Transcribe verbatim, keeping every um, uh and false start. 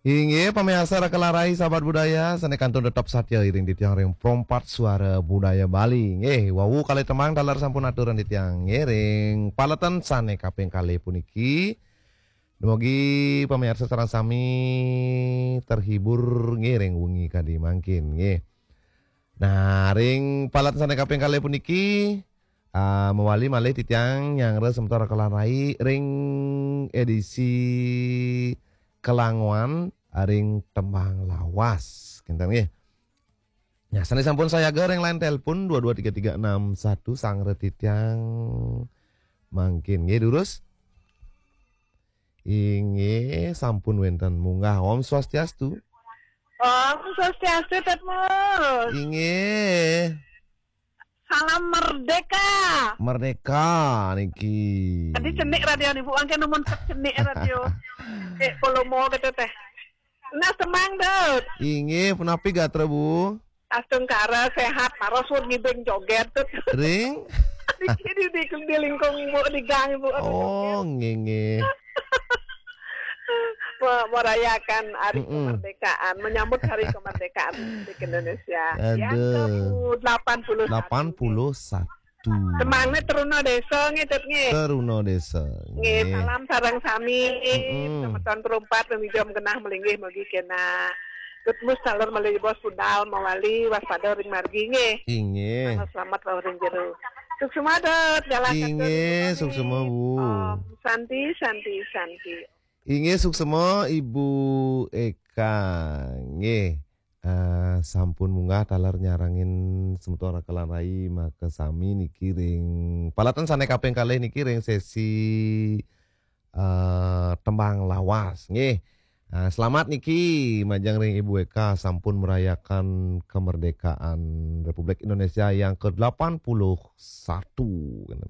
Inggih, pamiarsa Raka lan Rai, sahabat budaya, sané kantun tetep satia iring titiang ring Pro empat Suara Budaya Bali. Nggih, wau kalih tembang taler sampun aturan titiang nggih ring paletan sané kaping kalih puniki. Dumugi pamiarsa sareng sami terhibur nggih ring wengi kadi mangkin nggih. Nah, ring paletan sané kaping kalih puniki, ah, mawali malih titiang nyanggra semeton Raka lan Rai ring edisi kelangoan ring tembang lawas. Kinten nggih. Nah, sané sampun sayaga ring line telepon dua dua tiga tiga enam satu, sanggra titiang mangkin nggih, durus. Inggih, sampun wénten munggah. Om Swastiastu. Om Swastiastu, Tetmus. Inggih. Salam merdeka. Merdeka niki. Tadi cenik radio nih, Bu. Angke numun cenik radio. Cek polomo gitu teh. Nah, semang, Dut. Inggih, punapi gatra, Bu? Astungkara, sehat, maros, pun ngibing joget, Dut. Ring? Di, di, di, di lingkung, Bu, di gang, Bu. Oh, nggih, nggih. Me-, merayakan hari Mm-mm. kemerdekaan, menyambut hari kemerdekaan Republik Indonesia yang Aduh. ke delapan puluh satu. Delapan puluh satu. Semangnya teruna desa nggih, Dut, nggih. Teruna desa. Nggih, nggih. Salam sareng sami. Mm-mm. Semeton Pro empat, Umi Jom genah melinggih mugi kena. Dut Mus taler malih bos budal mawali waspada ring margi nggih. Inggih. Selamat, selamat wau ring jero. Suksma, Dut, galah Inggih, katur, Dut, nggih. Suksma, Bu. Om Santi, Santi, Santi. Inggih, suksma Ibu Eka. Nggih. Eh, sampun munggah taler nyarengin semeton Raka lan Rai makasami niki ring paletan sané kaping kalih niki ring sesi, eh, tembang lawas nggih. Eh, selamat niki majeng ring Ibu Eka sampun merayakan kemerdekaan Republik Indonesia yang ke delapan puluh satu.